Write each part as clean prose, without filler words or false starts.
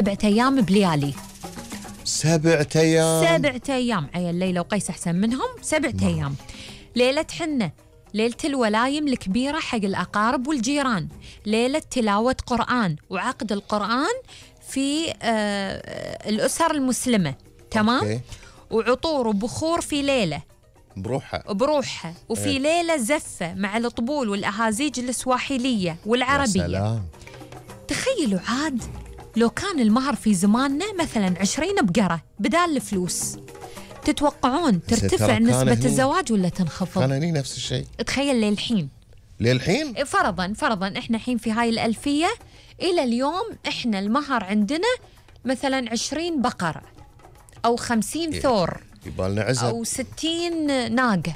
7 أيام بليالي. 7 أيام. 7 أيام عيل ليلى وقيس أحسن منهم. 7 أيام. ليلة حنة، ليلة الولايم الكبيرة حق الأقارب والجيران، ليلة تلاوة قرآن وعقد القرآن في الأسر المسلمة. تمام. أوكي. وعطور وبخور في ليلة بروحها. وفي ليلة زفة مع الطبول والأهازيج السواحيلية والعربية. يا سلام. تخيلوا عاد لو كان المهر في زماننا مثلا 20 بقرة بدال الفلوس، تتوقعون ترتفع نسبة الزواج ولا تنخفض؟ كان هني نفس الشيء. تخيل للحين فرضا احنا الحين في هاي الألفية إلى اليوم احنا المهر عندنا مثلا 20 بقرة أو 50 ثور يبالنا عزب أو 60 ناقة.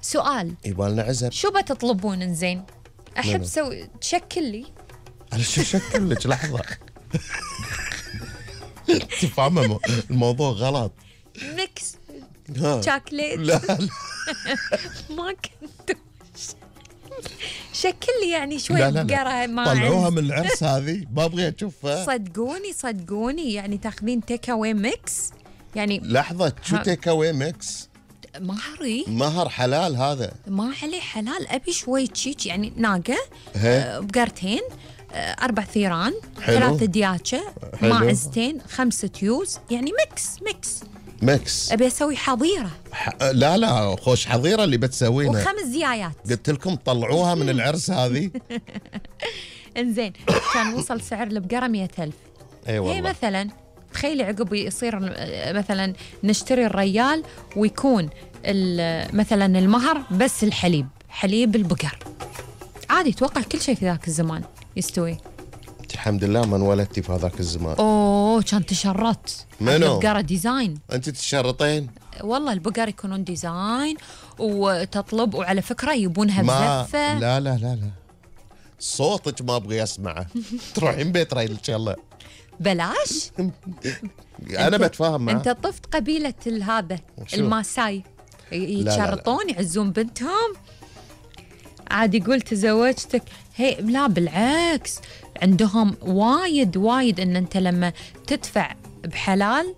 سؤال، يبالنا عزب، شو بتطلبون إنزين؟ أحب تشكل لي. على شو شكل لك؟ لحظة. تفهم الموضوع غلط. ميكس شوكليت. لا ما كنت شكل لي يعني شوي بقرة. ما طلعوها من العرس هذه، ما ابغي اشوفها. صدقوني يعني تاخذين تيك اواي ميكس يعني. لحظة، شو تيك اواي ميكس؟ مهر حلال هذا. ما عليه حلال، ابي شوي تشيك يعني ناقة، بقرتين، 4 ثيران، 3 دياتشة، ماعزتين، 5 تيوز، يعني ميكس. ابي اسوي حظيرة. لا خوش حظيرة اللي بتسوينها. و5 زيايات. قلت لكم طلعوها من العرس هذه. انزين كان وصل سعر البقرة 100,000. اي والله. هي مثلا تخيلي عقب يصير مثلا نشتري الريال ويكون مثلا المهر بس حليب البقر. عادي توقع كل شيء في ذاك الزمان يستوي. الحمد لله ما انولدتي في هذاك الزمان. كان تشرطت. منو؟ البقرة ديزاين. انت تشرطين؟ والله البقر يكونون ديزاين وتطلب، وعلى فكرة يبونها بزفة. لا صوتك ما ابغي اسمعه. تروحين بيت رايل ان شاء الله. بلاش. انا بتفاهم معه. انت طفت قبيلة هذا الماساي يتشرطون يعزون بنتهم. عادي يقول تزوجتك هي. لا بالعكس، عندهم وايد ان انت لما تدفع بحلال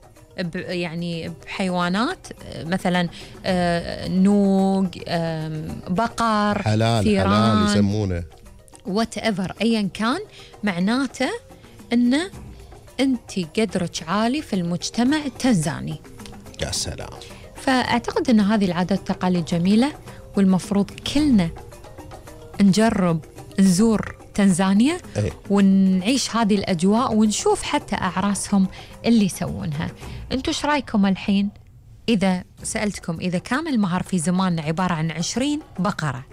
يعني بحيوانات مثلا نوق، بقر، حلال يسمونه whatever ايا كان، معناته ان انت قدرك عالي في المجتمع التنزاني. يا سلام. فاعتقد ان هذه العادات والتقاليد جميله، والمفروض كلنا نجرب نزور تنزانيا ونعيش هذه الأجواء ونشوف حتى أعراسهم اللي يسوونها. أنتوا إيش رأيكم الحين؟ إذا سألتكم إذا كان المهر في زماننا عبارة عن 20 بقرة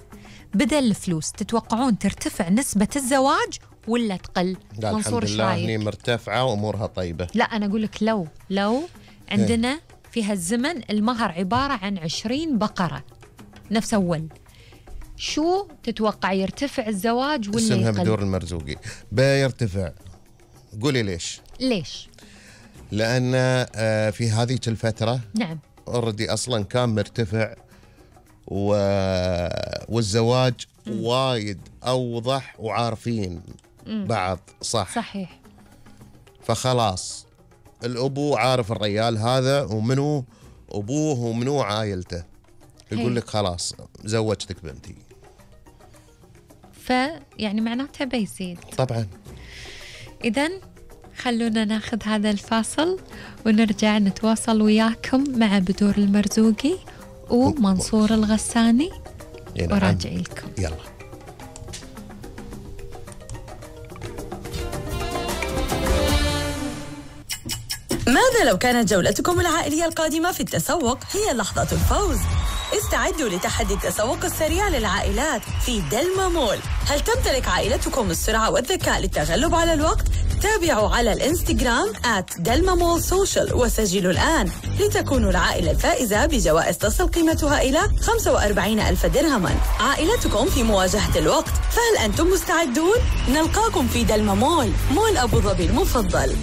بدل الفلوس، تتوقعون ترتفع نسبة الزواج ولا تقل؟ لا الحمد لله هني مرتفعة وأمورها طيبة. لا أنا أقول لك لو عندنا في هالزمن المهر عبارة عن 20 بقرة نفس أول، شو تتوقع يرتفع الزواج ولا اسمها يقل؟ بدور المرزوقي. بيرتفع. قولي ليش؟ لأن في هذه الفترة نعم أوردي أصلا كان مرتفع والزواج وايد أوضح وعارفين بعض. صحيح. فخلاص الأبو عارف الرجال هذا ومنو أبوه ومنو عائلته، يقول لك خلاص زوجتك بنتي. فيعني معناتها بيزيد طبعا. إذن خلونا ناخذ هذا الفاصل ونرجع نتواصل وياكم مع بدور المرزوقي ومنصور الغساني وراجعي لكم. يلا. ماذا لو كانت جولتكم العائلية القادمة في التسوق هي لحظة الفوز؟ استعدوا لتحدي التسوق السريع للعائلات في دلما مول. هل تمتلك عائلتكم السرعة والذكاء للتغلب على الوقت؟ تابعوا على الانستغرام @delmamallsocial وسجلوا الآن لتكونوا العائلة الفائزة بجوائز تصل قيمتها إلى 45,000 درهما. عائلتكم في مواجهة الوقت، فهل أنتم مستعدون؟ نلقاكم في دلما مول أبو ظبي المفضل.